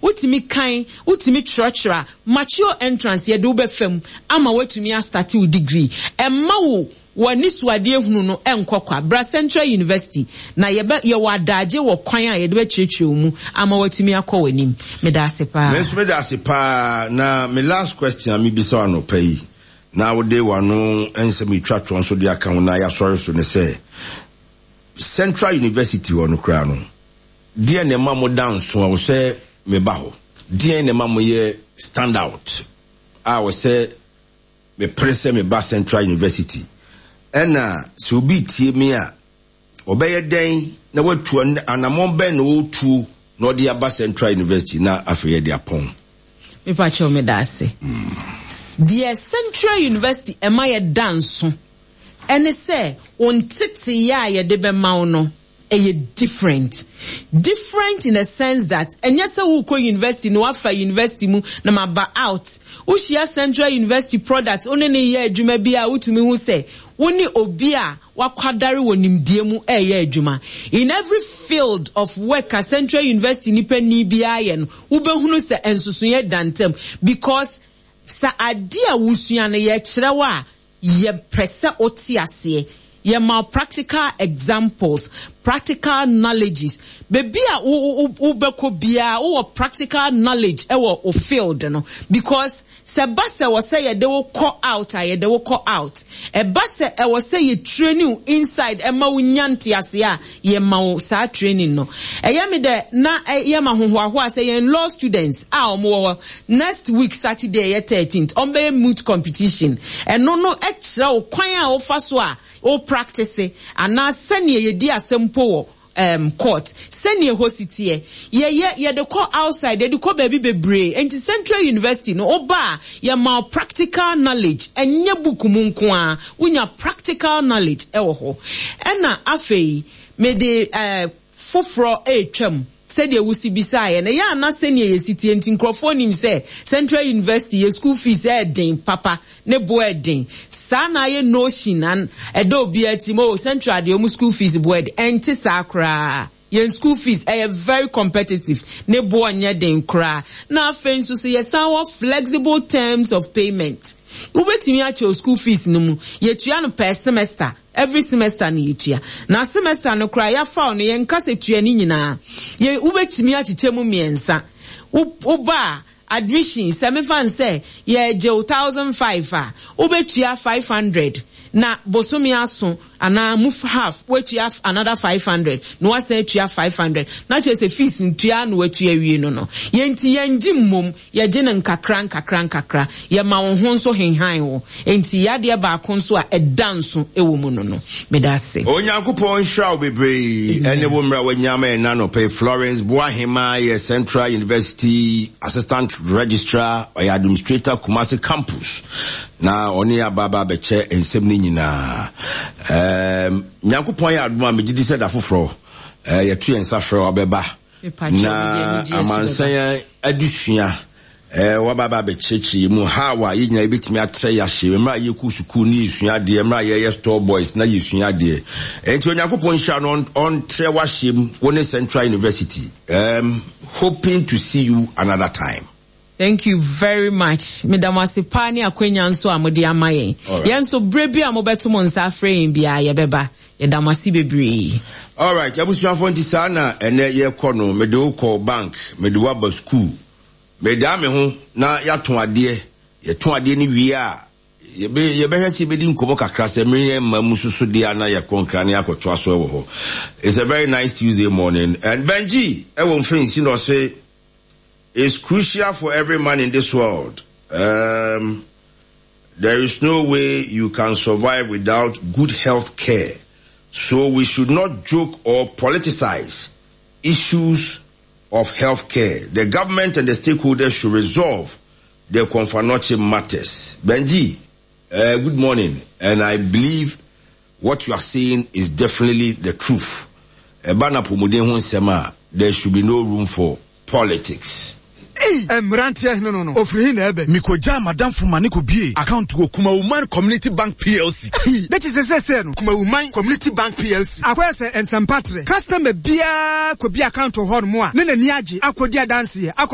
Wotumi kan, wotumi twerɛtwerɛ a, mature entrance yɛde wo bɛfa mu ama woatumi astarte wo degree. Ɛmma wo w'anisoadeɛ hunu no nkɔ kwa. Bra Central University na yɛbɛ, yɛwɔ adaagye wɔ kwan a yɛde bɛkyerɛkyerɛ wo mu ama woatumi akɔ w'anim. Meda ase paa. Me nso meda ase paa. Na me last question a mebisa wo anɔpa yi, na wode w'ano nsɛm retwa toɔ nso de aka ho na yɛasɔre so ne sɛ, Central University hɔ no koraa no, deɛn na ɛma moda nso a wɔsɛ meba hɔ? Deɛn na ɛma moyɛ stand out a wɔsɛ mepere sɛ meba Central University? Ɛna sɛ obi retie me a, ɔbɛyɛ dɛn na watu anammɔn bɛn na ɔretuo na ɔde aba Central University na afei yɛde apɔn? Mepakyɛw meda ase. Deɛ Central University ɛma yɛda nso ɛne sɛ wo nteteyɛ a yɛde bɛma wo no ɛyɛ different. Different in a sense that ɛnyɛ sɛ wokɔ university na wafa university mu na maba out. Wohyia Central University product wo ne no yɛ adwuma bi a wotumi hu sɛ wo ne obi a wakwadare wɔ nimdeɛ mu ɛreyɛ adwuma. In every field of work a Central University nipa ni biara yɛ no, wobɛhunu sɛ nsosoeɛ da ntam because sɛ adeɛ a wosua no yɛkyerɛ wo a, Yɛpɛ sɛ wote aseɛ. Yɛma wo practical examples, practical knowledges. Baabi a wo wo wobɛkɔ biara wowɔ practical knowledge wɔ wo field no because sɛ ɛba sɛ ɛwɔ sɛ yɛde wo kɔ out a, yɛde wo kɔ out. Ɛba sɛ ɛwɔ sɛ yɛ train wo inside ma wo nya nteaseɛ a, yɛma wo saa training no. Ɛyɛ me dɛ na ɛyɛ me ahohoahoa sɛ yɛn law students a wɔn wɔ hɔ next week Saturday ɛyɛ 13th wɔn bɛyɛ moot competition. Ɛno no kyerɛ wo kwan a wofa so a wo practice anaa sɛnea yɛdi asɛm mpo wɔ um, court, sɛnea ɛhɔ si teɛ. Yɛyɛ, yɛde kɔ outside, yɛde kɔ baabi bebree. Enti Central University no, woba a, yɛma wo practical knowledge, ɛnyɛ book mu nko ara, wonya practical knowledge wɔ hɔ. Ɛna afei, mede eh, foforɔ retwam sɛdeɛ wosi bisaeɛ no, ɛyɛ a na sɛnea yɛsi teɛ nti nkurɔfoɔ nim sɛ Central University yɛ school fees ɛɛden papa, ne bo ɛɛden. Saa na ayɛ notion an ɛda obiara tirim, oh Central deɛ wɔn school fees bo ɛɛden. Ɛnte saa koraa. Yɛn school fees ɛyɛ very competitive, ne boɔ nyɛ den koraa. Na afei nso so yɛsan wɔ flexible terms of payment. Wobɛtumi akyɛ wo school fees no mu, yɛtua no per semester, every semester na yɛtua. Na semester no koraa yɛafa wo no yɛnka sɛ tua ne nyinaa. Yɛ, wobɛtumi akyekyɛ mu mmiɛnsa. Wo, woba a, admission, sɛ mefa no sɛ yɛregye wo 1005 a, wobɛtua 500 na bosome aso anaa mu half woatua another 500 na woasan atua 500 na kyerɛ sɛ fees no tua na woatua awie no no. Yɛn nti yɛngye mmom, yɛgye no nkakra nkakra nkakra. Yɛma wo ho nso henhan wo. Enti yadeɛ baako nso a ɛda nso wɔ mu no no. Meda ase. Onyankopɔn nhyira wo bebree ɛne wo mmerɛ a wanya ama yɛn anɔpa yi. Florence Boahemaa yɛ Central University Assistant Registrar, ɔyɛ Administrator Kumasi Campus na ɔne yɛn aba aba abɛkyɛ nsɛm no nyinaa. Ɛɛm, Nyankopɔn yɛ adom a megye di sɛ da foforɔ ɛɛ yɛto yɛn nsa frɛ wo abɛba na amansan adesua Eh, waba aba abɛkyerɛkyerɛ yɛn mu how a yɛn nyinaa yɛbɛtumi atrɛ yɛn ahye mmerɛ a yɛkɔ sukuu ne yɛsua adeɛ, mmerɛ a yɛyɛ store boys na yɛsua adeɛ. Enti Onyankopɔn nhyira no ɔntrɛ w'ahyeɛ mu, wo ne Central University. Um, hoping to see you another time. Thank you very much. Meda mo ase paa ne akwanya nso a mode ama yɛn. Yɛn nso berɛ bi a mobɛto mo nsa afrɛ yɛn biara yɛbɛba. Yɛda mo ase bebree. Alright, abusuafoɔ nti saa na ɛnɛ yɛkɔ no, mede wo kɔ bank, mede wo aba sukuu. Medaa me ho na yɛatõ adeɛ. Yɛtõ adeɛ no wie a, yɛbɛ, yɛbɛhwɛ sɛ yɛbɛdi nkɔmmɔ kakra sɛ mmere mma mu soso deɛ a na yɛkɔ Nkran na yɛakɔtoa so wɔ hɔ. It's a very nice Tuesday morning. And Benji ɛwɔ mfɛnsi na ɔse, It's crucial for every man in this world. Um, there is no way you can survive without good health care. So we should not joke or politicize issues of health care. The government and the stakeholders should resolve the Komfo Anokye matters. Benji, uh, good morning. And I believe what you are saying is definitely the truth. Ɛba no apɔmuden ho nsɛm a, there should be no room for politics. Ei! Mmeranteɛ hene no no, ɔfiri he na ɛɛbɛ? Mekɔgyaa m'adamfo ma ne kɔbuee account wɔ Kumawuman Community Bank PLC. Ei! Na kyesɛ seesei no. Kumawuman Community Bank PLC. Akɔyɛ sɛ nsɛmpa trɛ. Customer biara kɔbue account wɔ hɔnom a, na n'ani agye akɔdi adanseɛ akɔ.